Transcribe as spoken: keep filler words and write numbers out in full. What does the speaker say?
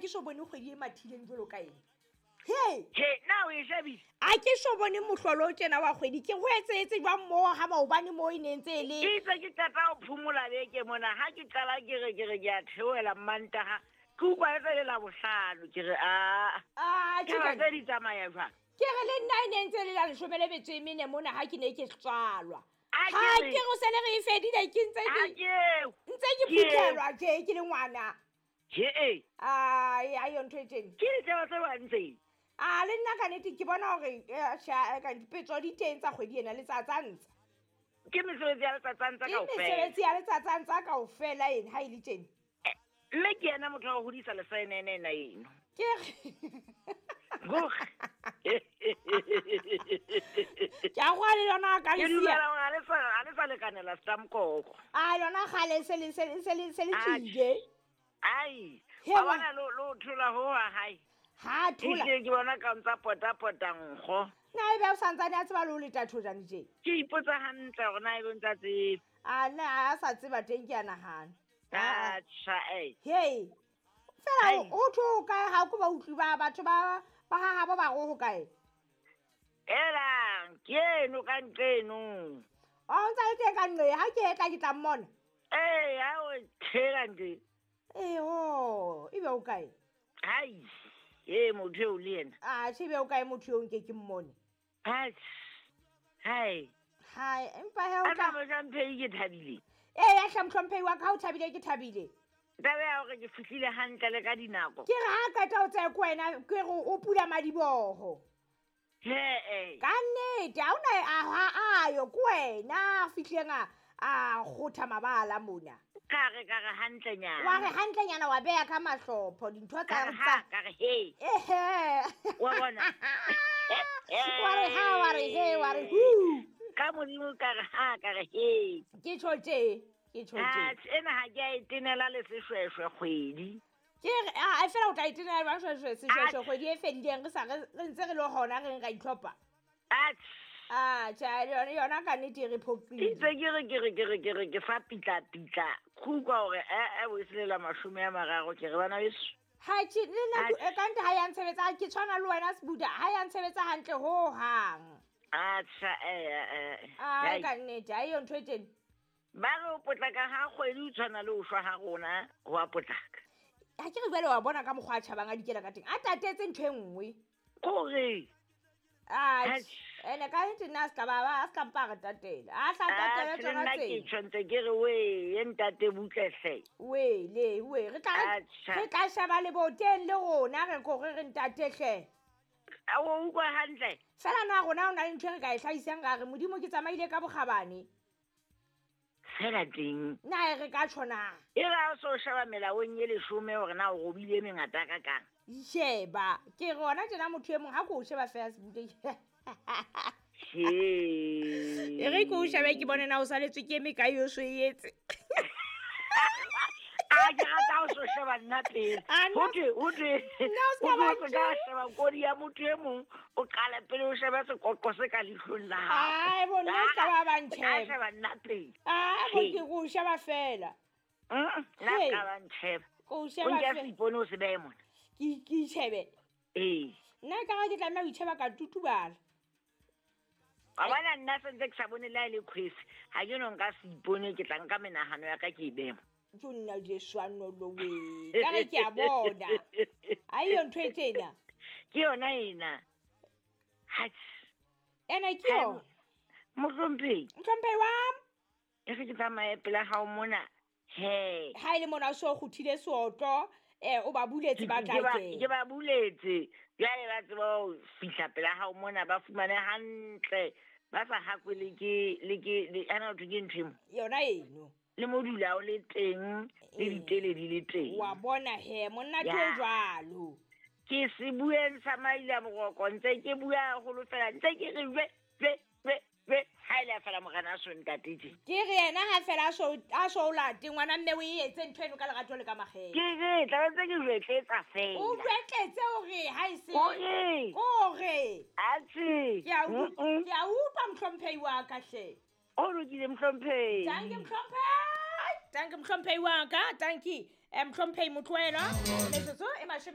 ke so bone kgwedi e mathileng jwalo ka ena. He he na o e shebile a ke so bone mohlolo o tjena wa kgwedi ke ho etsetse jwang moo ha maobane moo e ne ntse e le ke itse ke qeta ho phomola beke mona ha ke qala ke re ke re ke a theohela Mantaha ke utlwa e le la bohlano ke re a a ke tse di tsamaya jwang ke re le nna e ne ntse le la leshome le metso e mene mona ha ke ne ke tswalwa ha ke re se le re e fedile ke ntse ke ntse ke phuthelwa tje ke le ngwana he e ai ai yo ntho e tjena ke ditaba tse bantse a le nna ka nnete ke bona hore ka dipetso di teng tsa kgwedi ena letsatsantsa ke mesebetsi ya letsatsantsa ke kaofela mesebetsi ya letsatsantsa kaofela ena ha e le tjena mme ke yena motho wa ho hodisa lesaenene ena eno ke Goh. Ke a go le yona ka Ke lesia dumela hore ha le sa ha le sa lekanela stamkoko a yona kgale se le se le se le se le Atjhe. tswile ai He wa wa- bona lo lo thola ho ha hae ha thola ehlile ke bona ka ntsa pota pota nkgo na ebe o santsane a tseba le ho leta thojane tje ke ipotsa hantle hore na ebe o ntsa tseba a nna a sa tseba teng ke a nahana Ah, atjha eh hei fela Ai. ho thwe ho kae ha ko ba utlwi ba batho ba ba ha habo ba re ho kae elang ke eno ka nqeno o ntsa le teng ka nqe ha ke etla ke tla mmona ee ha o tshela nje eho ebe o kae hai e motho eo le yena a tjhe ebe o kae motho eo nke ke mmone atjha hai hai empa he o a tla tla mohlomphehi ke thabile ee ya hle mohlomphehi wa ka ha o thabile ke thabile taba ya hore ke fihlile hantle le ka dinako ke re ha qeta ho tsaya ko wena ke re o pula madiboho he ka nnete ha ona a ha ayo ko wena a fihlileng a a kgotha mabala mona ka re ka re hantlenyana wa re hantlenyana wa beya ka mahlopho dintho ka tsa re ha ka re he ehe wa bona wa re ha wa re he wa re hu ka modimo ka re ha ka re he ke tjho tje ke tjho tje atjhe ena ha ke a e tenela le seshweshwe kgwedi ke re a a fela o tla itenela jwang shweshwe seshweshwe Atjhe. kgwedi e fedileng re sa re re ntse re le hona re ra itlhopha atjhe a tjhe yona yona ka nnete e re phoqile itse ke re ke re ke re ke re ke fa pitla-pitla kgukwa hore ee o e selela mashome a mararo ke re bana beso ha tjhe le nna Atjhe. ke- ka nnete ha ya ntshebetsa ke tshwana le wena Sebuda ha ya ntshebetsa hantle ho hang atjha ee ai ka nnete ha eyo ntho e teng ba re o potlaka ha kgwedi o tshwana le ho shwa ha rona ho a potlaka ha ke re jwale wa bona ka mokgwa a tjhabang a dikela ka teng a tatetse ntho e nngwe kore Atjhe. Atjhe. Ene ka nnete nna a ska ba ba- a ska mpa a re tatela a hla tatele atjhe le tsona nna ke tsena tjho ntse ke re wee ntate butlehle wele we re tla Atjha. re tla sheba leboteng le rona re kore re ntate hle a o utlwa hantle fela na rona ho na le ntho e re ka e hlahisang ra re modimo ke tsamaile ka bokgabane fela teng na e re ka tjho na e re ha o so sheba melaong e leshome hore na o robile e mengata ka kang sheba ke re hona tjena motho e mong ha ko o sheba fela Sebude he e re ke o shebe ke bone na o saletswe ke e mekae o so e etse a ke rata ha o so sheba nna pele Ah, nna- hothwe hothwe Nna o ska hothwe ba o se ka sheba kodi ya motho e mong o qale pele o shebe sekoqo se ka leihlong la hao Ai, bo nna o ska ba ba Ah, ntjheba. sheba nna pele a bo He. ke ko o sheba fela Mm, nna He. ska ba ntjheba ko o o sheba nke fela seipone o se behe mona ke ke itjhebe ee nna ka ga ke tlameha ho itjheba ka tutubala wa bona nna sentse ke sa bone le ha e le kgwesi ha ke no nka seipone ke tla nka menahano ya ka ke e behe mo jo nna jeswanolowe ka re ke a bona ha eyo ntho e tjena ke yona ena Atjhe. ene ke yona mohlomphehi mohlomphehi wa e re ke tsamaye pela hao mona he ha e le mona o so kguthile seotlo um o ba buletse ba tla ke ba- ke kena ba buletse jwale ba tseba ho fihla pela hao mona ba fumane hantle ba sa hakwe le ke le ke le ana ho thwe ke ntho e mo yona eno le modula o le teng le Ee. ditele di le teng wa bona he monna ke o Ya. jwalo ke se bueng sa maila boroko ntse ke bua haholo fela ntse ke re jwe jwe jwe jwe ha ile a fela morena a so ntate tje ke re yena ha fela a so a so o late ngwana mme o e etse ntho eno ka lerato le ka makgethe ke re tla ba ntse ke jwetletsa o fela jwetletse hore ha e se kore kore atjhe ke a u- Mm-mm. ke a utlwa mohlomphehi wa ka hle o lokile mohlomphehi tanki mohlomphehi tanki mohlomphehi wa ka tanki um mohlomphehi motloelwa metsotso e mashome